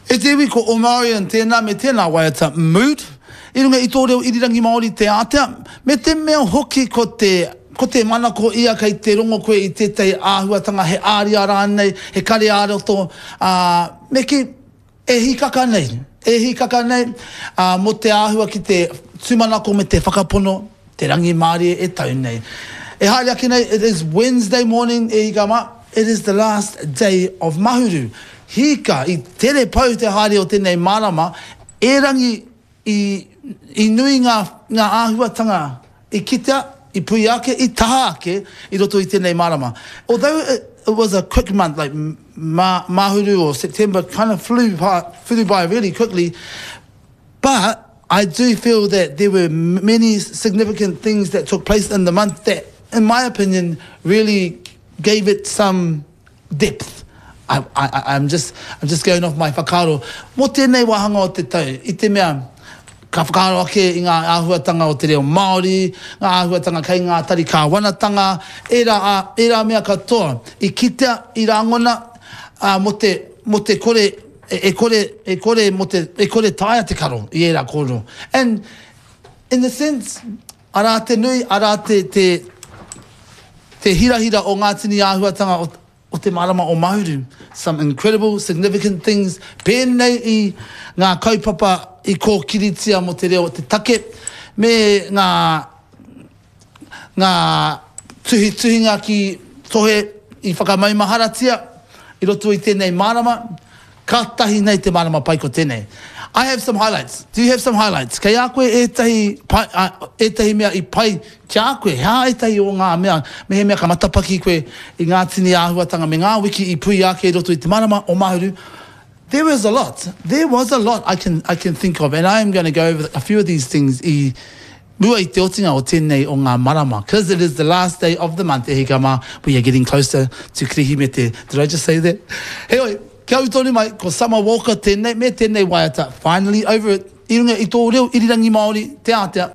E te iwi ko Omarion tēnā me tēnā waiata Mood i runga i tō reo irirangi Māori te ātea, me te mea hoki ko te ko te manako ia kei te rongo koe i tētahi āhuatanga he āria rānei, he kare ā-roto, ā, me kī, e hīkaka nei, e hīkaka nei, ā, mō te āhua ki te tūmanako me te whakapono, te rangimārie e tau nei. E haere ake nei, it is Wednesday morning, e hika mā, it is the last day of Mahuru. Hika, i tere pau te haere o tēnei marama, erangi i, i nui ngā, ngā āhuatanga i kitea, i puia ake, i taha ake i roto i tēnei marama. Although it, it was a quick month, like Ma, Mahuru or September kind of flew by, flew by really quickly, but I do feel that there were many significant things that took place in the month that, in my opinion, really gave it some depth. I, I, I'm just, I'm just going off my whakaaro. Mō tēnei wāhanga o te tau, i te mea, ka whakaaro ake i ngā āhuatanga o te reo Māori, ngā āhuatanga kei ngā tari kāwanatanga, ērā, ērā mea katoa i kitea, i rangona, ā, mō te, mō te kore, e kore, e kore mō te, e kore taea te karo i ērā kōrero. And in the sense, arā te nui, arā te, te, te hirahira o ngā tini āhuatanga o, o te marama o Mahuru. Some incredible, significant things, pēnei i ngā kaupapa i kōkiritia mō te reo o te take, me ngā, ngā tuhituhinga ki tohe i whakamaumaharatia i roto i tēnei marama, Kātahi nei te marama pai ko tēnei. I have some highlights. Do you have some highlights? Kei a koe ētahi pai, ētahi mea i pai ki a koe? He aha ētahi o ngā mea, mehemea ka matapaki koe i ngā tini āhuatanga me ngā wiki i puia ake i roto i te marama o Mahuru? There is a lot. There was a lot I can, I can think of and I am going to go over a few of these things i mua i te otinga o tēnei o ngā marama, cause it is the last day of the month, e hika mā, we are getting closer to Kirihimete, did I just say that? Heoi, kia ū tonu mai, ko Summer Walker tēnei me tēnei waiata, Finally Over It, i runga i tō reo irirangi Māori, te ātea.